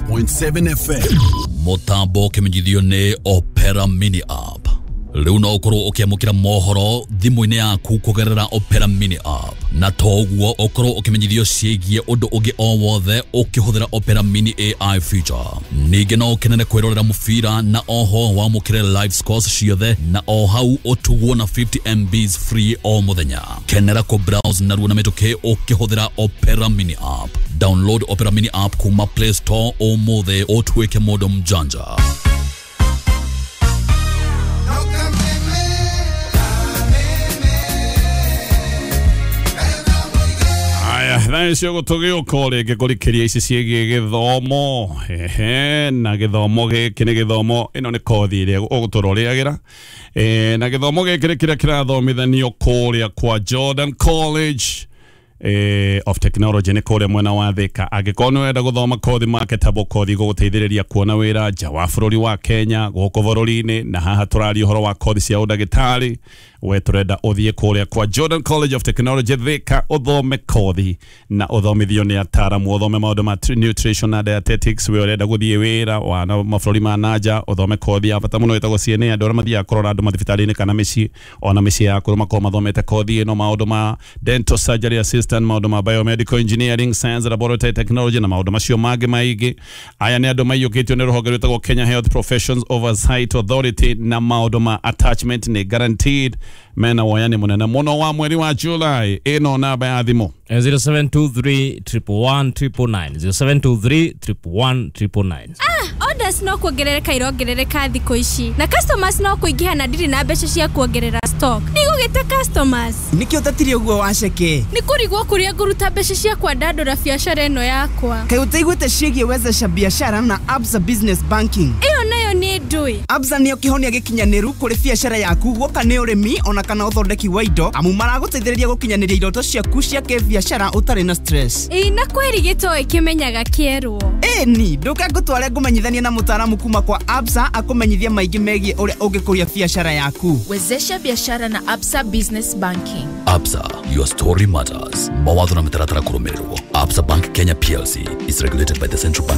106.7 FM. Mutambo ũkĩmenyithio nĩ Opera Mini App. Rĩu no ũkorwo ũkĩamũkĩra mohoro thimũ-inĩ yaku kũgerera Opera Mini App, na to ũguo ũkorwo ũkĩmenyithio ciĩgiĩ ũndũ ũngĩ o wothe ũkĩhũthĩra Opera Mini AI feature. Ningĩ no ũkenere kwĩrorera mũbira na oho wamũkĩre live scores ciothe na o hau ũtugwo na 50 MBs free o mũthenya. Kenera kũ browse narua na mĩtũkĩ ũkĩhũthĩra Opera Mini App. Download Opera Mini App kuma Play Store ũmũthĩ ũtuĩke mũndũ mjanja. Aya, thaa icio gũtũgĩũka o rĩngĩ kũrikĩria ici ciĩgiĩ gĩthomo. Ehe, na gĩthomo gĩkĩ nĩ gĩthomo, ĩno nĩ kothi ĩrĩa ũgũtũra ũrĩagĩra. Na gĩthomo gĩkĩ nĩ kĩrĩa kĩrathomithanio kũrĩa kwa Jordan College of Technology nĩ kũrĩa mwena wa Thika. Angĩkorwo nĩ ũrenda gũthoma kothi marketable, kothi gũgũteithĩrĩria kuona wĩra nja wa bũrũri wa Kenya, gũkũ bũrũri-inĩ, na haha tũraria ũhoro wa kothi cia ũndagĩtarĩ, we tũrenda ũthiĩ kũrĩa kwa Jordan College of Technology Thika ũthome kothi na ũthomithio nĩ ataramu, ũthome maũndũ ma nutrition na dietetics. We ũrenda gũthiĩ wĩra wa na mabũrũri ma nanja, ũthome kothi ya bata mũno ĩtagwo CNA, andũ arĩa mathiaga kũrora andũ mathibitarĩ-inĩ kana mĩciĩ, ona mĩciĩ ya kũrũ makorwo mathomete kothi ĩno, maũndũ ma dental surgery assistant, maũndũ ma biomedical engineering, science laboratory technology na maũndũ macio mangĩ maingĩ. Aya nĩ andũ maiyũkĩtio nĩ rũhonge rwĩtagwo Kenya Health Professions Oversight Authority, na maũndũ ma attachment nĩ guaranteed. Mena woyani mũnene mũno wa mweri wa July. Ĩno namba ya thimũ. 0723 111 999, 0723 111 999. Orders no kuongerereka irongerereka thikũ ici, na customers no kũingĩha, na ndirĩ na mbeca cia kuongerera stock. Ndigũgĩta customers. Nĩkĩo ũtatire ũguo waceke? Nĩ kũrigwo kũrĩa ngũruta mbeca cia kwandandũra biacara ĩno yakwa. Kaĩ ũtaiguĩte ciĩgiĩ wezesha biashara na Absa Business Banking? Ĩyo nayo nĩ ndũĩ. Absa nĩyo kĩhonia gĩkinyanĩru kũrĩ biacara yaku, guoka nĩ ũrĩmi ona kana ũthondeki wa indo, amu maragũteithĩrĩria gũkinyanĩria iroto ciaku cia kĩbiacara ũtarĩ na stress. Ĩĩ, na kwĩri gĩtoĩ kĩmenyaga kĩerwo. Ĩni ndũke ngũtware ngũmenyithanie na mũtaaramu kuma kwa Absa akũmenyithie maingĩ megiĩ ũrĩa ũngĩkũria biacara yaku. Wezesha biashara na Absa Business Banking. Absa, your story matters. Mawatho na mĩtaratara kũrũmĩrĩrwo. Absa Bank Kenya PLC is regulated by the Central Bank.